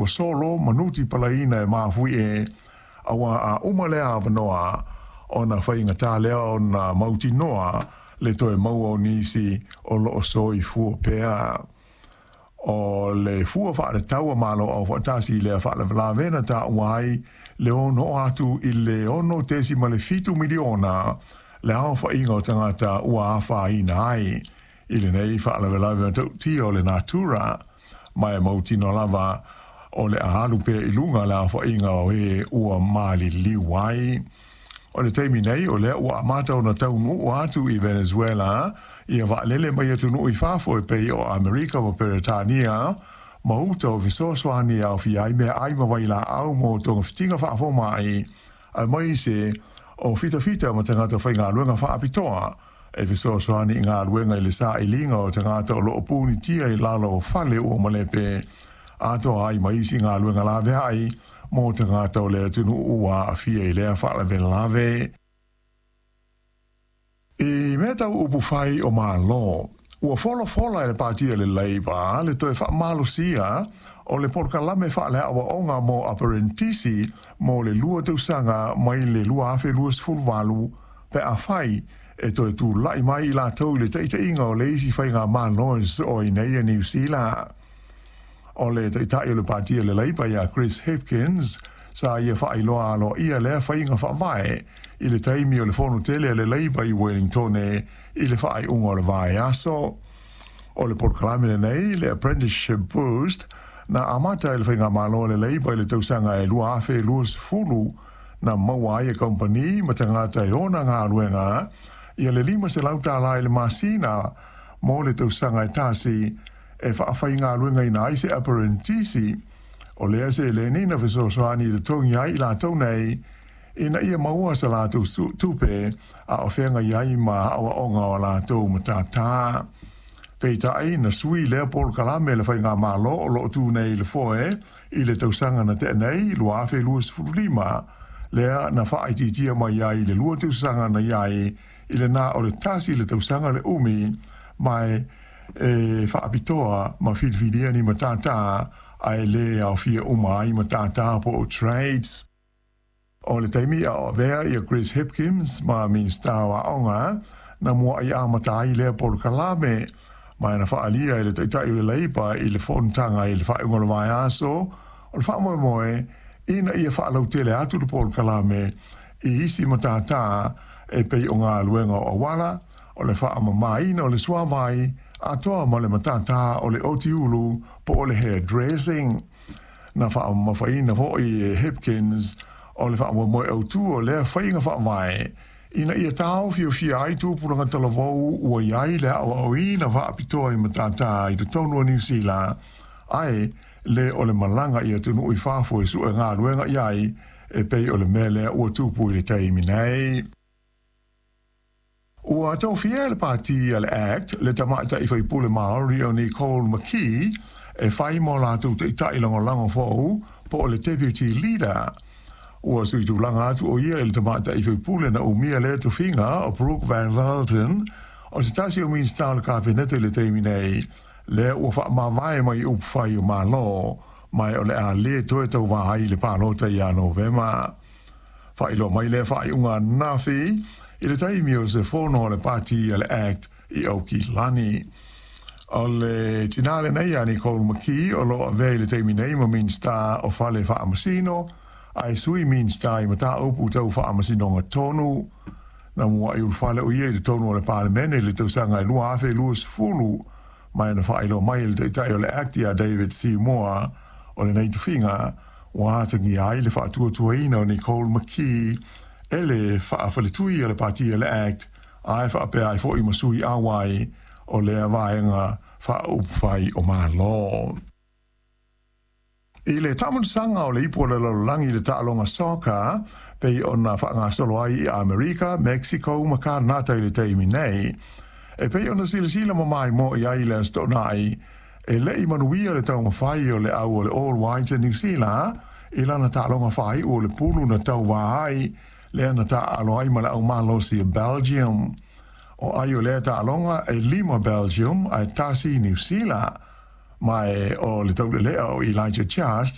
ua solo ma nutipalaiina e mafuie, auā a uma lea avanoa, ona faigatā lea ona mautinoa le toe maua o nisi o lo o soifua pea. O le fua faatatau a Malo Aufaatasi i lea faalavelave na taua ai le ono oo atu i le 6.7 miliona le aofaiga o tagata ua afaina ai i lenei faalavelave matautia o le natura, ma e mautinoa lava o le a alu pea i luga le aofaiga o e ua maliliu ai. O le taimi nei, o lea ua amata ona taunuu atu i Venezuela ia vaalele mai atunuu i fafo e pei o Amerika ma Peretania ma uta o fesoasoani e aofia ai meaai ma vailaau mo togafitiga faafomai, aemaise o fitafita ma tagata faigaluega faapitoa e fesoasoani i galuega i le sailiga o tagata o lo o punitia i lalo o fale ua malepe, atoa ai ma isi galuega laveai mo tagata o le atunuu ua aafia i lea faalavelave. I mea tau upufai o Malo, ua folafola e le Pati a le Labour le toe faamalosia o le polokalame faale-aoaoga mo aperenitisi mo le 2 tausaga mai le 2028 pe afai e toe tulai mai i latou i le taitaiga o le isi faigamalo e sosoo ai nei a Niu Sila. O le Taitai o le Pati a le Labour ia Chris Hipkins, sa ia faailoa aloaia lea faiga faavae i le taimi o le fono tele a le Labour i Wellingtone i le faaiuga o le vaiaso. O le polokalame lenei, le Apprenticeship Boost, na amata e le faigamalo a le Labour i le tausaga e 2020, na maua ai e kamupani ma tagata e ona galuega ia le $500 i le masina mo le tausaga e tasi e faafaigaluegaina ai se aperenitisi. O lea seleni na fesoasoani i totogi ai i latou nei ina ia maua sa latou tupe a o feagai ai ma aoaoga o a latou matata. Peitai, na sui lea polokalame e le faigamalo o lo o tu nei i le foe i le tausaga na tea nei, 2025, lea na faaitiitia mai ai i le 2 tausaga na i ai i le na o le tasi le tausaga le umi, ma e faapitoa ma filifilia ni matata ae le aofia uma ai matata po o trades. O le taimi a o avea ia Chris Hipkins ma Minisita o Aoga, na mua'i amata ai lea polokalame, ma na faaalia e le Taitai o le Labour i le fonotaga i le faaiuga o le vaiaso, o le faamoemoe ina ia faalautele atu le polokalame i isi matata e pei o galuega o auala, o le faamamaina o le suavai, atoa ma le matata o le otiulu po o le hairdressing. Na faamamafaina foi e Hipkins o le faamoemoe autu o lea faiga faavae ina ia taofiofia ai tupulaga talavou ua i ai le aoaoina faapitoa i matata i totonu o Niu Sila, ae le o le malaga i atunuu i fafo e sue galuega i ai e pei o le mea lea ua tupu i le taimi nei. Ua tofia e le Pati a le act le tamaitai faipule Māori o Nicole McKee e fai mo latou taitai lagolago fou po o le Deputy Leader. Ua sui tulaga atu o ia i le tamaitai faipule na umia lea tofiga o Brooke Van Velden, o se tasi o Minisita o le Kapeneta i le taimi nei, lea ua faamavae mai upufai o Malo, ma o le a le toe tauvā ai i le palota ia Novema. Faailoa mai lea faaiuga ananafi i le taimi o se fono a le Pati a le act i Aukilani. O le tinā lenei a Nicole McKee o lo o avea i le taimi nei ma Minisita o Fale Faamasino, ae Sui Minisita i Mataupu Tau Faamasinoga Tonu. Na muai ulufale o ia i totonu o le Palemene i le tausaga e 2020, ma na faailoa mai e le Taitai o le act ia David Seymour o lenei tofiga ua atagia ai le faatuatuaina o Nicole McKee e le faafaletui a le Pati a le act, ae faapea ai foi ma sui auai o lea vaega faaupufai o Malo. I le taamulusaga o le Ipu o le Lalolagi i le taaloga soccer, pei ona faagasolo ai i Amerika, Mexico ma Kanata i le taimi nei, e pei ona silasila ma maimoa i ai i le Aso Toonai, e le i manuia le taumafai o le au o le All Whites a Niu Sila i lana taaloga faaiu o le pulu na tauvā ai, lea na taaalo ai ma le au malosi a Belgium. O ai o lea taaloga e 5 Belgium ae 1 Niu Sila, ma o le taulelea o Elijah Just.